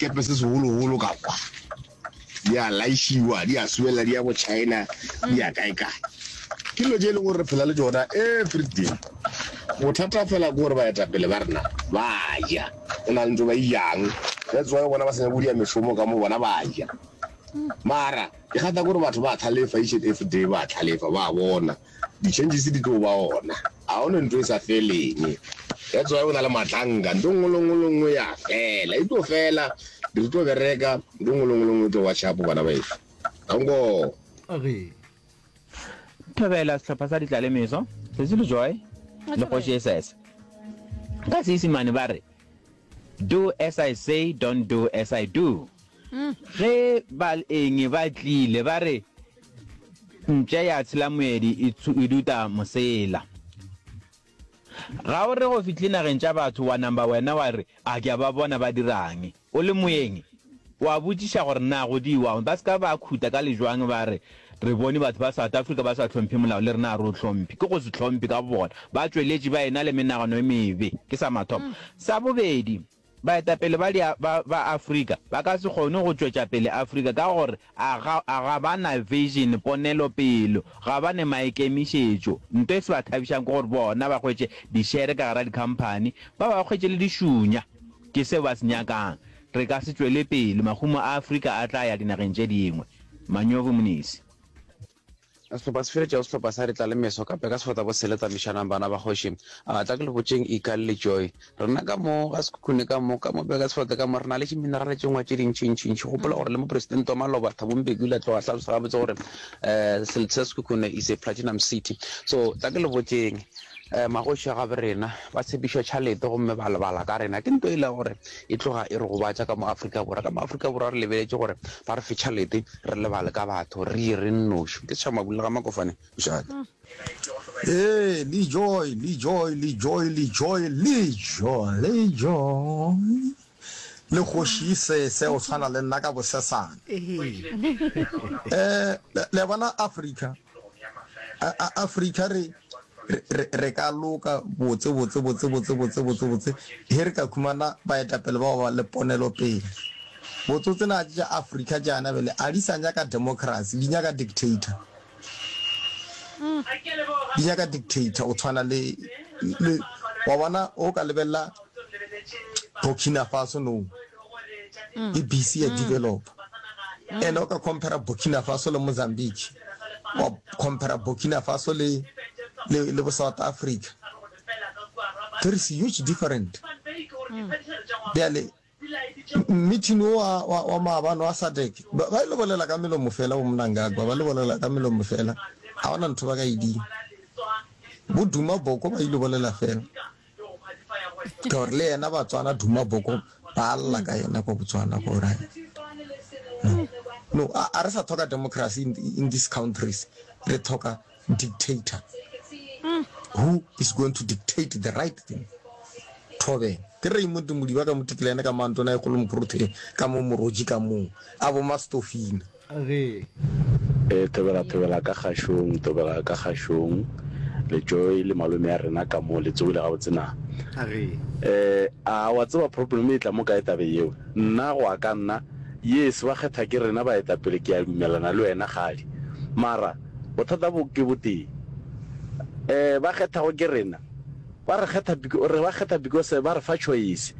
sekepe se segologolo ka kwa. Di a laišiwa, di a subelela, di ya bo China, di ya kae kae. Ke dilo tše e leng gore re phela le tšona everyday. Bothata fela ke gore baetapele ba rena ba ja, go na le ntho ba e jang. That's why o bona ba sa nyake go dia mešomo ka mo bona ba ja. Mara ke kgatha ke gore batho ba tlhalefa each and every day, ba tlhalefa, ba bona. Di-changes di tlo ba gona. Ga go ne ntho e sa feleng. That's why go na le matlanka. Ntho nngwe le nngwe le nngwe ya fela. E tlo fela, re tlo bereka, ntho nngwe le nngwe le nngwe e tlo ba sharp bana baeso. Danko. Age. Thobela sehlopha sa Ditlalemeso, Sesi le Joy le Kgoši Esese. Ka Seisemane ba re, Do as I say, don't do as I do. Ge ba eng ba tlile ba re, Mpša ya tshela moedi e, e duta mosela. Ga o re go fihle nageng tša batho wa namba wena wa re, A ke a ba bona ba dirang? O le moeng, wa botšiša gore na go diwang. Ba se ka ba khuta ka lejwang ba re, Re bone batho ba South Africa ba sa hlomphe molao le rena ga re o hlomphe. Ke go se hlomphe ka bobona. Ba tšweletše ba ena le menagano e mebe. Ke sa mathomo. Sa bobedi, Baetapele ba dia, ba, ba Afrika ba ka se kgone go tšwetša pele Afrika ka gore a ga, a ga ba na vision, ponelopelo, ga ba ne maikemišetšo. Nto e se ba thabišang ke gore bona ba hwetše dišere ka gara dikhamphani, ba ba hwetše le dišunya. Ke seo ba se nyakang. Re ka se tšwele pele, mahumo a Afrika a tla ya dinageng tše dingwe. Manyovu Mnisi. Sehlopha se feletšago sehlopha sa Retla le Meso ka Peka Sefota bo Sele Tsamišanang bana ba kgoši. A tla ke le botšeng Ikal le Joy. Rena ka mo ga Sekhukhune ka mo, ka mo Peka Sefota ka mo re na le diminerale tše ngwe tše dintši-ntši-ntši. Gopola gore le mopresidente wa maloba Thabo Mbeki o ile a tloga a hlalosa gabotse gore um selete sa Sekhukhune is a platinum city. So tla ke le botšeng um magoši a gabo rena ba tshepišwa tšhalete gomme ba lebala ka rena. Ke nto e le gore e tloga e re gobatša ka mo Afrika Borwa. Ka mo Afrika Borwa re lebeletše gore ba re fe tšhalete Re lebale ka batho, re ye re nnoši. Ke tšha mabula ga Makofane, Mošate. Ee, le joy, le joy, le joy, le joy, le joy, le joy. Le kgoši sese o tshwana le nna ka bosesane. Eh, le bona Africa, Africa re re re ka loka botse botse botse botse botse botse botse he re ka khumana baetapele bao ba le ponelo pele. Botsotse na tša Africa tšana bele a di sa nyaka democracy di nyaka dictator. Di nyaka dictator o tshwana le le wa bona o ka lebella Burkina Faso no e busy ya develop. And o ka compare Burkina Faso le Mozambique wa compare Burkina Faso le le le bo South Africa. There is huge different. Bjale Meeting wo wa, wa, wa maabane wa SADC, ba, ba ile bolela ka melomo fela, bo Mnangagwa, ba le bolela ka melomo fela, ga gona ntho ba ka e dira. Bo Duma Boko ba ile bolela fela. Ka gore le yena Batswana Duma Boko ba lla ka yena kwa Botswana gore no. No, a, a re sa tlhoka democracy in, in these countries. Re tlhoka dictator who is going to dictate the right thing. Thobela. Ke Raymond Modiba ka Motikilane ka Mantona e kgolo Mokrotheng ka mo Moroji ka moo a bo Mastofina. Ge. E thobela thobela ka kgašong thobela ka kgašong le Joy le malome ya rena ka mo le tsogile gabotse na? Ge. Eh a wa tseba problem e tla mo kae tabeng yeo nna go ya ka nna yes ba kgetha ke rena baetapele ke a dumelana le wena kgadi mara Bothata bo ke botee. Eh, ba kgethago ke rena. Ba re kgetha re ba kgetha because ba re fa choice.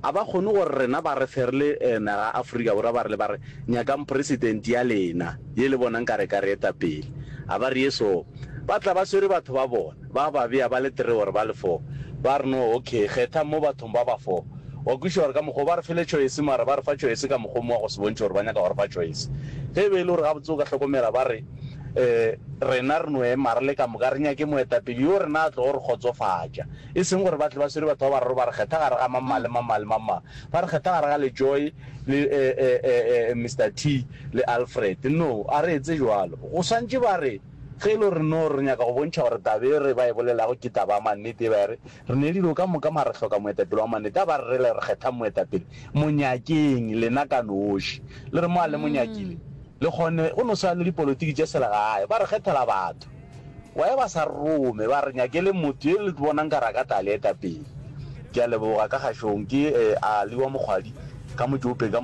A ba kgone gore rena ba re fe re le eh, naga Afrika Borwa ba re le ba re nyakang president ya lena ye le bonang ka re ka re eta pele. A ba re ye so. Ba tla ba swere batho ba bona, ba ba bea ba le three or ba le four. Ba re no okay, kgethang mo bathong ba ba four. Wa kwešiša gore ka mokgwa wo ba re fele choice mara ba re fa choice ka mokgwa o mongwe wa go se bontšhe gore ba nyaka go re fa choice. Ge e be e le gore gabotse o ka hlokomela ba re um rena re no ema re le ka moka re nyake moetapele yo rena a tlogo re kgotsofatša. E seng gore ba tle ba swere batho ba bararo ba re kgetha gare ga mang-mang le mang-mang le mang-mang. Ba re kgetha gare ga Lejoe le um Mister T le Alfred. No, a re etse bjalo. Go swantše ba re ge e le gore no re nyaka go bontšha gore taba e re ba e bolelago ke taba ya mannete e ba e re Re ne dilo ka moka mara re hloka moetapele wa mannete. A ba re rele re kgethang moetapele. Mo nyakeng lena ka noši. Le re mo a le mo nyakile le kgone go no swana le dipolotiki tše selegae. Ba re kgethela batho. Why ba sa re rome ba re nyakeleng motho ye le bonang ka re a ka tla le eta pele. Ke a leboga ka kgašong ke Ali wa Mokgwadi ka Motšope ka.